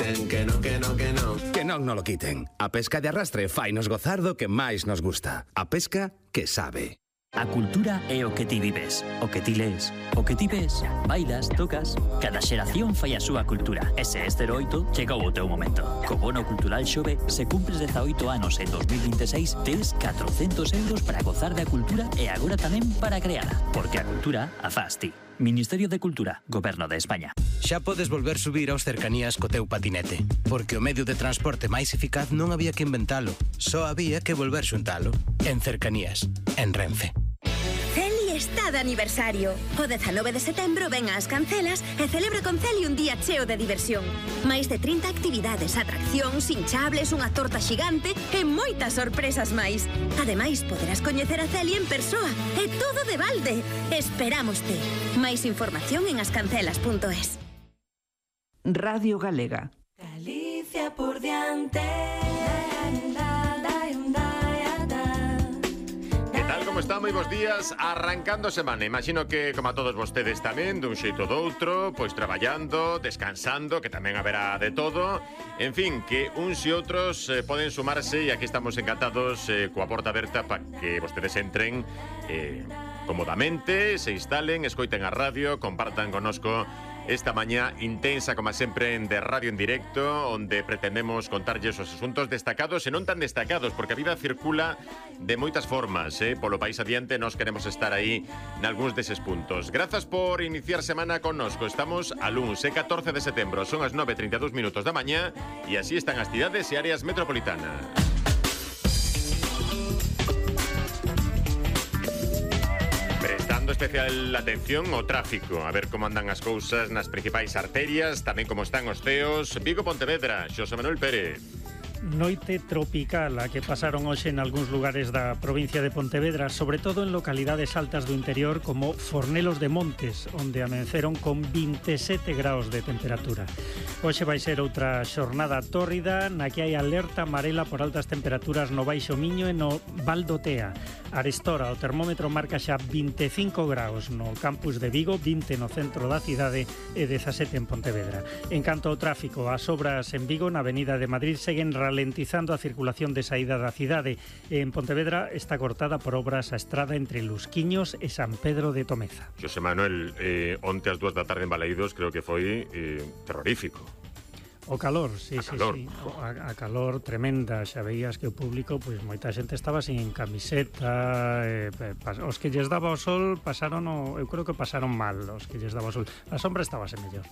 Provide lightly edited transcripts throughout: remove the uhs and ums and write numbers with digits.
quiten, que non, que non, que non. Que non lo quiten. A pesca de arrastre fainos gozar do que máis nos gusta. A pesca que sabe. A cultura é o que ti vives, o que ti lees, o que ti ves, bailas, tocas. Cada xeración fai a súa cultura. E se este 8 chegou o teu momento. Co bono cultural Xove, se cumpres 18 anos en 2026, tes 400 euros para gozar da cultura e agora tamén para creala. Porque a cultura a faz ti. Ministerio de Cultura, Goberno de España. Xa podes volver subir aos cercanías co teu patinete, porque o medio de transporte máis eficaz non había que inventalo, só había que volver xuntalo. En Cercanías, en Renfe. Celi está de aniversario. O 19 de setembro ven ás Cancelas e celebra con Celi un día cheo de diversión. Máis de 30 actividades, atraccións, hinchables, unha torta xigante e moitas sorpresas máis. Ademais, poderás coñecer a Celi en persoa e todo de balde. Esperámoste. Máis información en ascancelas.es. Radio Galega. Galicia por diante. Como está? Moi bons días, arrancando semana. Imagino que, como a todos vostedes tamén, dun xeito ou doutro, pois traballando, descansando, que tamén haberá de todo. En fin, que uns e outros poden sumarse e aquí estamos encantados coa porta aberta para que vostedes entren cómodamente, se instalen, escoiten a radio, compartan connosco esta mañá intensa, como sempre, de radio en directo, onde pretendemos contarlles os asuntos destacados e non tan destacados, porque a vida circula de moitas formas, polo país adiante nós queremos estar aí nalgúns deses puntos. Grazas por iniciar semana connosco. Estamos a luns, 14 de setembro, son as 9:32 minutos da mañá e así están as cidades e áreas metropolitanas. Prestando especial atención ao tráfico, a ver como andan as cousas nas principais arterias, tamén como están os ceos. Vigo, Pontevedra, Xosé Manuel Pérez. Noite tropical a que pasaron hoxe en algúns lugares da provincia de Pontevedra, sobre todo en localidades altas do interior como Fornelos de Montes, onde amenceron con 27 graus de temperatura. Hoxe vai ser outra xornada tórrida na que hai alerta amarela por altas temperaturas no Baixo Miño e no Val do Tea. Arestora, o termómetro marca xa 25 graus no campus de Vigo, 20 no centro da cidade e 17 en Pontevedra. En canto ao tráfico, as obras en Vigo na Avenida de Madrid seguen ralentizando a circulación de saída da cidade. En Pontevedra está cortada por obras a estrada entre Lusquiños e San Pedro de Tomeza. Xosé Manuel, onte ás 2 da tarde en Balaídos creo que foi terrorífico. O calor, sí. A calor tremenda, xa veías que o público, pois moita xente estaba sin camiseta, os que lles daba o sol pasaron, eu creo que pasaron mal, os que lles daba o sol. A sombra estábase mellor.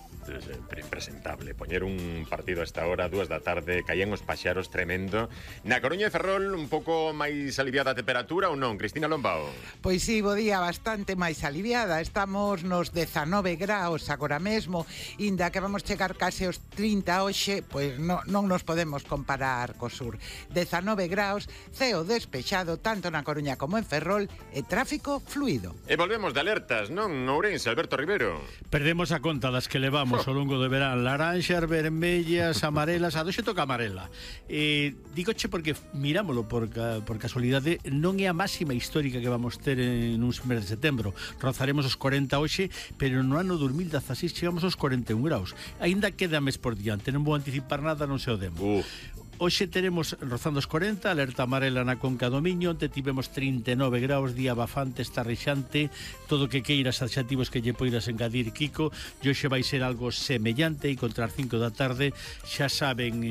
Impresentable, poñer un partido a esta hora, 2 da tarde, caían os paxaros tremendo. Na Coruña e Ferrol, un pouco máis aliviada a temperatura ou non, Cristina Lombao? Pois sí, bo día, bastante máis aliviada. Estamos nos 19 graus agora mesmo, inda que vamos chegar case aos 30 hoxe, pois non nos podemos comparar co sur. 19 graus, ceo despexado tanto na Coruña como en Ferrol e tráfico fluido. E volvemos de alertas, non, Ourense, Alberto Rivero? Perdemos a conta das que levamos ao longo do verán, laranxas, vermellas, amarelas, a doxe toca amarela. Dígoche porque mirámolo por casualidade, non é a máxima histórica que vamos ter en un mes de setembro. Rozaremos os 40 hoxe, pero no ano 2016 chegamos aos 41 graus. Aínda queda mes por diante, non vou anticipar nada, non se o demo. Hoxe teremos rozando os 40, alerta amarela na Conca do Miño, onde tivemos 39 graus, día bafante, estarrexante, todo que queiras adxetivos que lle poidas engadir, Kiko, e hoxe vai ser algo semellante e contra as 5 da tarde xa saben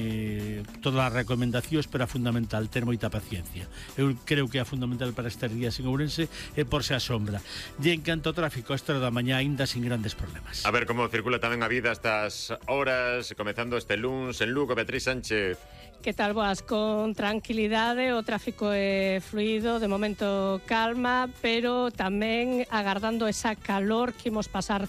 todas as recomendacións, pero a fundamental, ter moita paciencia. Eu creo que é fundamental para estes días en Ourense e por se a sombra. E en canto ao tráfico, a esta hora da mañá aínda sin grandes problemas. A ver como circula tamén a vida estas horas, comezando este luns en Lugo, Beatriz Sánchez. Que tal, boas? Con tranquilidade, o tráfico é fluido, de momento calma, pero tamén agardando esa calor que imos pasar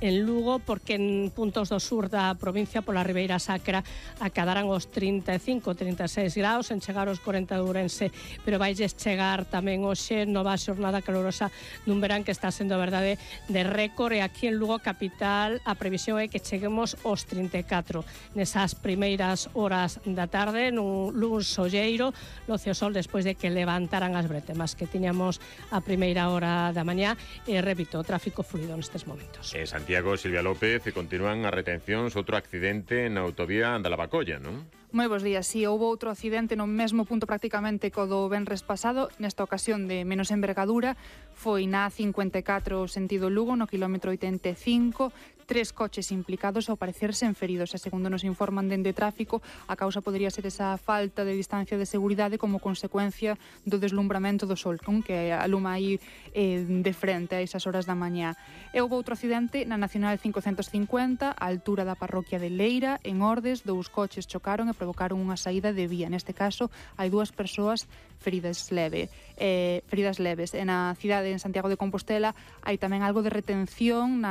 en Lugo, porque en puntos do sur da provincia, pola Ribeira Sacra, acadarán os 35, 36 graus, en chegar aos 40 de Ourense, pero vailles chegar tamén hoxe nova xornada calorosa dun verán que está sendo a verdade de récord, e aquí en Lugo capital a previsión é que cheguemos aos 34 nesas primeiras horas da tarde, nun luns solleiro, loce o sol despois de que levantaran as bretemas que tiñamos a primeira hora da mañá, e repito, o tráfico fluido nestes momentos. Santiago Santiago, Silvia López, e continúan as retencións, outro accidente na autovía da Lavacolla, non? Moi bons días, si houve outro accidente no mesmo punto prácticamente co do venres pasado, nesta ocasión de menos envergadura, foi na A54 sentido Lugo, no quilómetro 85, 3 coches implicados ao parecerse en feridos, e segundo nos informan dende tráfico, a causa podría ser esa falta de distancia de seguridade como consecuencia do deslumbramento do sol, con que aluma aí de frente a esas horas da mañá. E houve outro accidente na Nacional 550, a altura da parroquia de Leira, en Ordes, 2 coches chocaron e provocaron unha saída de vía. Neste caso, hai 2 persoas feridas leves. E na cidade, en Santiago de Compostela, hai tamén algo de retención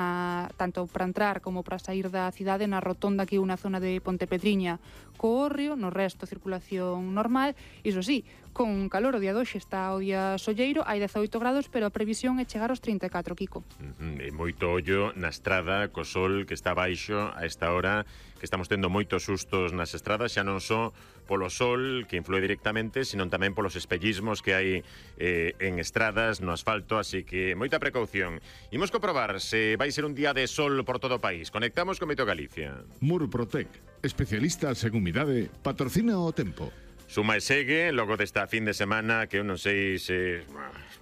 tanto para entrar como para sair da cidade na rotonda que é unha zona de Pontepedriña co Hórreo, no resto circulación normal. Iso sí, con calor, o día de hoxe está o día solleiro, hai 18 grados, pero a previsión é chegar aos 34, Kiko. E moito ollo na estrada co sol que está baixo a esta hora, que estamos tendo moitos sustos nas estradas, xa non só polo sol que influe directamente, sino tamén polos espellismos que hai en estradas, no asfalto, así que moita precaución. Imos comprobar se vai ser un día de sol por todo o país. Conectamos con Meto Galicia. Murprotec, especialistas en humidade, patrocina o tempo. Suma e segue, logo desta fin de semana, que eu non sei se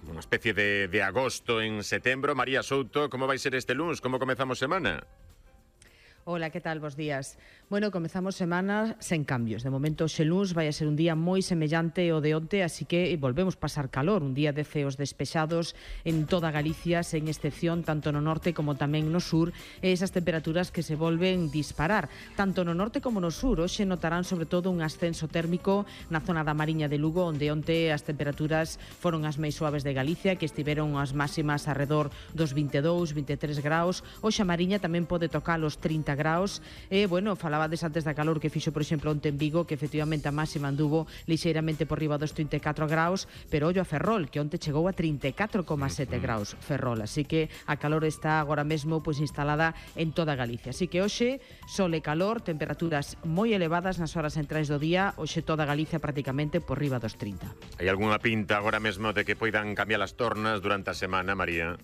unha especie de agosto en setembro. María Souto, como vai ser este luns? Como comezamos semana? Hola, que tal? Bos días. Bueno, comezamos semana sen cambios. De momento, xe luns vai a ser un día moi semellante ao de onte, así que volvemos pasar calor. Un día de ceos despexados en toda Galicia, sen excepción, tanto no norte como tamén no sur, e esas temperaturas que se volven disparar. Tanto no norte como no sur, hoxe notarán sobre todo un ascenso térmico na zona da Mariña de Lugo, onde onte as temperaturas foron as máis suaves de Galicia, que estiveron as máximas alrededor dos 22, 23 graus. Hoxe a Mariña tamén pode tocar os 30 graus. E, bueno, falabades antes da calor que fixo, por exemplo, onte en Vigo, que efectivamente a máxima anduvo lixeiramente por riba dos 34 graus, pero ollo a Ferrol, que onte chegou a 34,7 graus Ferrol, así que a calor está agora mesmo pois instalada en toda Galicia. Así que hoxe, sol e calor, temperaturas moi elevadas nas horas centrais do día, hoxe toda Galicia prácticamente por riba dos 30. Hai algunha pinta agora mesmo de que poidan cambiar as tornas durante a semana, María?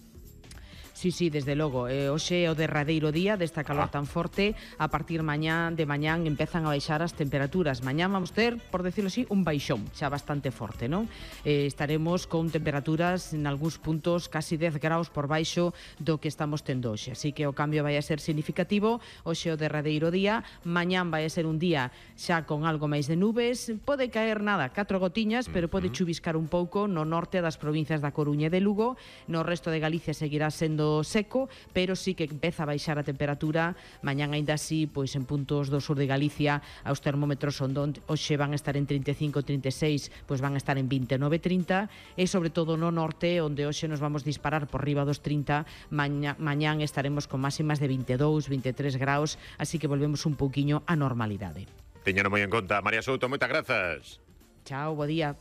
Sí, desde logo. Hoxe é o derradeiro día desta calor tan forte. A partir de mañán empezan a baixar as temperaturas. Mañán vamos ter, por decirlo así, un baixón xa bastante forte, non? Estaremos con temperaturas en algúns puntos casi 10 graus por baixo do que estamos tendo hoxe. Así que o cambio vai a ser significativo. Hoxe é o derradeiro día. Mañán vai a ser un día xa con algo máis de nubes. Pode caer 4 gotiñas, pero pode chuviscar un pouco no norte das provincias da Coruña e de Lugo. No resto de Galicia seguirá sendo seco, pero sí que empeza a baixar a temperatura. Mañán aínda así, pois en puntos do sur de Galicia, os termómetros onde hoxe van a estar en 35, 36, pois van a estar en 29, 30, e sobre todo no norte, onde hoxe nos vamos disparar por riba dos 30, mañán estaremos con máximas de 22, 23 graus, así que volvemos un pouquiño á normalidade. Teñano moi en conta. María Souto, moitas grazas. Chao, bo día.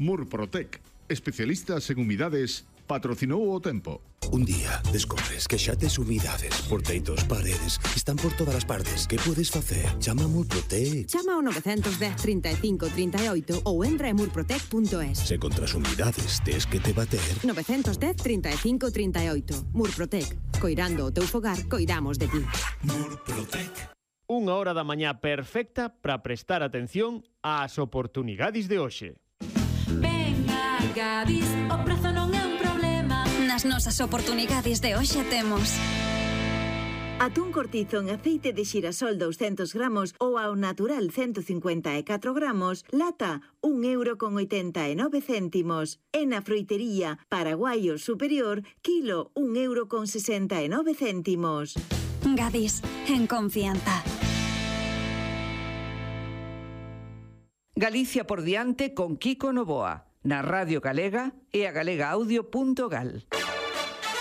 Murprotec, especialistas en humidades, patrocinou o tempo. Un día descubres que xa tes humidades por teitos, paredes, están por todas as partes. Que podes facer? Chama a Murprotec. Chama ao 910 35 38 ou entra en murprotec.es. Se contra as humidades tes que te bater. 910 35 38. Murprotec. Coirando o teu fogar, coidamos de ti. Murprotec. Unha hora da mañá perfecta para prestar atención ás oportunidades de hoxe. Venga, Gadis, o prezo non é un problema. Nas nosas oportunidades de hoxe temos atún cortizo en aceite de xirasol 200 gramos ou ao natural 154 gramos, lata 1,89 €. E na froitería Paraguaio Superior, kilo 1,69 €. Gadis, en confianza. Galicia por diante con Kiko Novoa, na Radio Galega e a galegaaudio.gal.